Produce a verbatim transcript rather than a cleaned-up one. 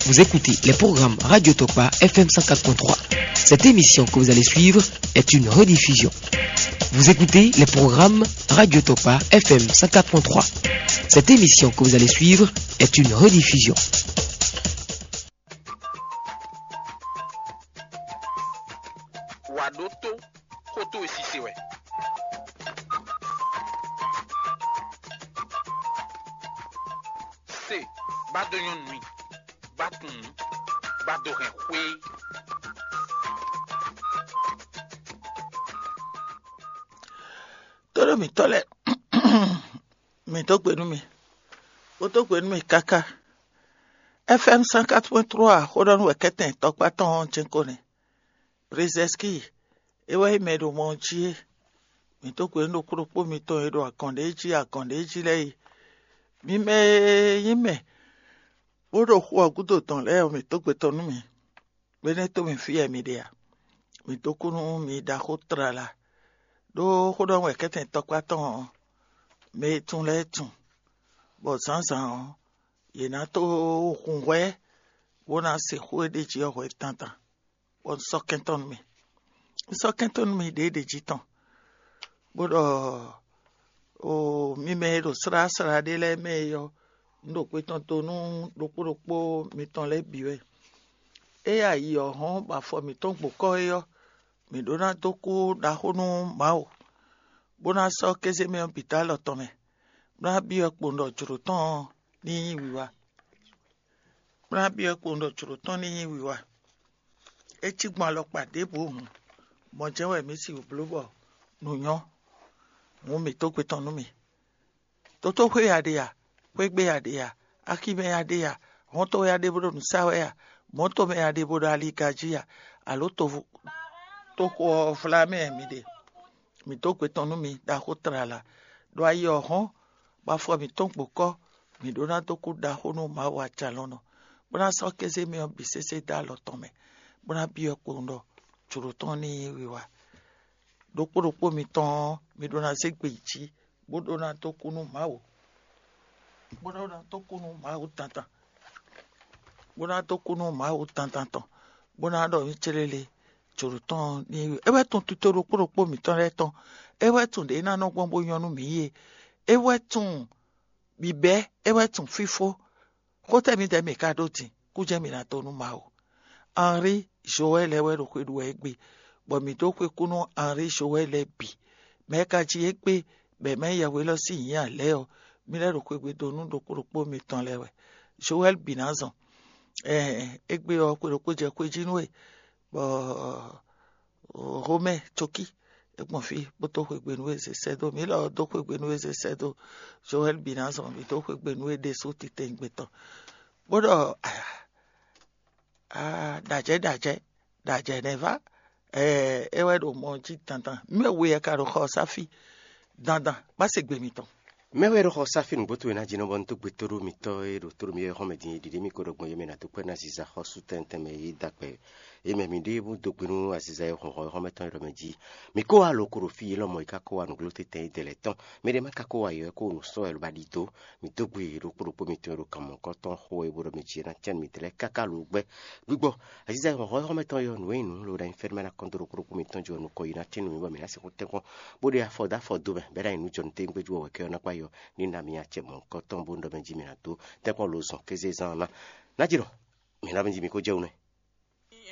Vous écoutez les programmes Radio Tokpa F M cent quatre point trois. Cette émission que vous allez suivre est une rediffusion. Vous écoutez les programmes Radio Tokpa F M cent quatre point trois. Cette émission que vous allez suivre est une rediffusion. Wà ɖó tó, xó towe sise wɛ. Se, ba dó nyɔ́nu mì, ba tunwun, ba dó hɛn xwé. Tóɖó mǐtɔn lɛ́ɛ, mǐ dó gbe nú mi, bó dó gbe nú mi káká. F M cent quatre point trois xó ɖɔ nú wɛ kɛ́tɛn tɔkpá tɔn ɔ́ jɛ́n ko nɛ́. Brezɛski é wɛ nyí mɛ e ɖo mɔ ɔ́ jí é. Mǐ dó gbe nú ɖokpó ɖokpó mitɔn e ɖo agɔn ɖé jí agɔn ɖé jí lɛ́ɛ é. Mi mɛ e nyí mɛ bó ɖo xu ɔ́ gúdo dɔn lɛ́ɛ ɔ́, mǐ dó gbe tɔn nú mi. Gbénɛ́ tó mi fí wɛ mi ɖe a? Mǐ dó kú nú mi ɖaxó tlala. Ɖó xó ɖɔ wɛ kɛ́tɛn tɔkpá tɔn ɔ́, mɛ e tunwun lɛ́ɛ tunwun, bɔ zǎnzǎn ɔ́, yě ná tó hun hwɛ bó ná se xó e ɖ'é jí ɔ́ hwɛ dandan, bɔ un sɔ́ kɛntɔ́ nú mì. Un sɔ́ kɛntɔ́ nú mì ɖěe ɖě jí tɔn, bó ɖɔ o mi mɛ e ɖo sláslá ɖé lɛ́ɛ mɛ é ɔ́, un ɖo gbe tɔn do nú ɖokpó ɖokpó mitɔn lɛ́ɛ bǐ wɛ. Ée ayi ɔ́ hɔ́n bɔ afɔ mǐtɔn gbo kɔ́ é ɔ́, mǐ ɖó ná dó kú ɖaxó nú Mawu, bó ná sɔ́ kézémɛ ɔ́ bǐ dó alɔ tɔn mɛ, bó ná byɔ́ kpowun ɖɔ jlǒ tɔn ní nyí wiwa. Bó ná byɔ́ kpowun ɖɔ jlǒ tɔn ní nyí wiwa. É cí gbɔn alɔkpa ɖěbǔ hǔn, mɔ̌ jɛ́n wɛ mǐ sixú bló bɔ nǔ nyɔ́. Hǔn mǐ dó gbe tɔn nú mì. Tótóxwé ya ɖe a? Xwégbé ya ɖe a? Aximɛ ya ɖe a? Hɔ́ntɔn ya ɖe bó ɖo nǔ sa wɛ a? Mɔ̌tomɛ ya ɖe bó ɖo aliga jí a? Alo toxo ɔ́ vlá mɛ mi ɖe? Mǐ dó gbe tɔn nú mi ɖaxó tlala, ɖo ayi ɔ́ hɔ́n, bɔ afɔ mǐtɔn gbo kɔ́, mǐ ɖó ná dó kú ɖaxó nú Mawu ajalɔ̌nɔ, bó ná sɔ́ kéze mɛ ɔ́ bǐ sésé dó alɔ tɔn mɛ, bó ná byɔ́ kpowun ɖɔ jlǒ tɔn ní nyí wiwa. Ɖokpó ɖokpó mitɔn ɔ́, mi ɖó ná zé gbe yi jí, bó ɖó ná dó kú nú Mawu, bó ɖó ná dó kú nú Mawu dandan, bó ná dó kú nú Mawu dandan tɔn, bó ná ɖɔ nú célélé jǒɖo tɔn ní é wɛ tunwun tito ɖokpó ɖokpó mǐtɔn lɛ́ɛ tɔn. É wɛ tunwun ɖě ná nɔ gbɔn bó nyɔ́ nú mǐ é. É wɛ tunwun bǐbɛ́, é wɛ tunwun fífó. Xótɛ́ mǐdɛɛ mǐ ka ɖó din, kú jɛ́n mǐ ná dó nú Mawu. Henri Joël lɛ́ɛ wɛ ɖo xwe ɖu wɛ égbé, bɔ mǐ dó xwe kú nú Henri Joël lɛ́ɛ bǐ. Mɛ̌ ka jí égbé bɔ è mɛ nyí yɛhweylɔ́ sín nyǐ ǎ lɛ́ɛ ɔ́, mí lɛ́ ɖo xwegbe dó nú ɖokpó ɖokpó mitɔn lɛ́ɛ wɛ. Joɛ́li bǐ ná zɔn. Ɛɛ, égbé ɔ́, xwe ɖokpó jɛ xwé jí nú we, bɔ Homɛ́ɛ cokí é gbɔn fí bó dó xwegbe nú we zě sɛ́ dó. Mǐ lɔ ɔ́ dó xwegbe nú we zě sɛ́ dó. Joɛ́li bǐ ná zɔn, mǐ dó xwegbe nú we ɖésú titewungbe tɔn. Bó ɖɔ, aa, ɖajɛ ɖajɛ ɖajɛ nɛ́ vá. Ɛɛ, é wɛ ɖo mɔ jí dandan. Mɛ we wɛ ka ɖo xɔ ɔ́ sá fí dandan, bá se gbe mitɔn. Mɛ wɛ ɖo xɔ sá fí nǔgbó towe ná jí nɔ bɔ un dó gbe tóɖó mitɔ́ e ɖo tóɖó mi wɛ xɔ́n mɛ din e ɖiɖe mì ko ɖɔ gbɔn yé mɛ ná dó kpɛ́ ná ziza xɔ́sú tɛntɛn mɛ yí da kpɛ. É mɛ mi ɖe bó dó gbe nú aziza e xɔn xɔ xɔ́n mɛ tɔn e ɖɔ mɛ jí. Mi kó wá lǒ ko ɖo fí yě lɔmɔ̌ yi ká kó wá nǔgló tɛtɛn yi dɛ lɛ́ tɔn. Mi ɖe má ka kó wá yɔ kó nǔ sɔ́ wɛ ló ba ɖi dó. Mi dó gbe ɖokpó ɖokpó mitɔn e ɖo kan mɔ̌kɔ́ tɔn xo e bó ɖɔ mi jí ná cɛ́n mi dlɛ́ káká lǒ gbɛ́. Gbigbɔ aziza e xɔn xɔ xɔ́n mɛ tɔn yɔ nǔ e nyí nǔ ló ɖo anyi fɛ́nú mɛ ná kɔn dó ɖokpó ɖokpó mitɔn jí ɔ́ nukɔn yi ná cɛ́n nú mi bɔ mi ná sixú tɛ́nkpɔ́n bó ɖe afɔ dó afɔ dó mɛ bɛ́ ɖo anyi nú jɔnǔ téwúngbéjú wɛ wɛ kɛ ɔ́ ná kpá yɔ ní ná mi acɛ mɔ̌kɔ́ tɔn bó ɖɔ mɛ jí mi ná dó tɛ́nkpɔ́n lǒ zɔn kéze zán ɔ́ ná. Ná jí ɖɔ mi ná mi jí mi kó jɛ wú nɛ́.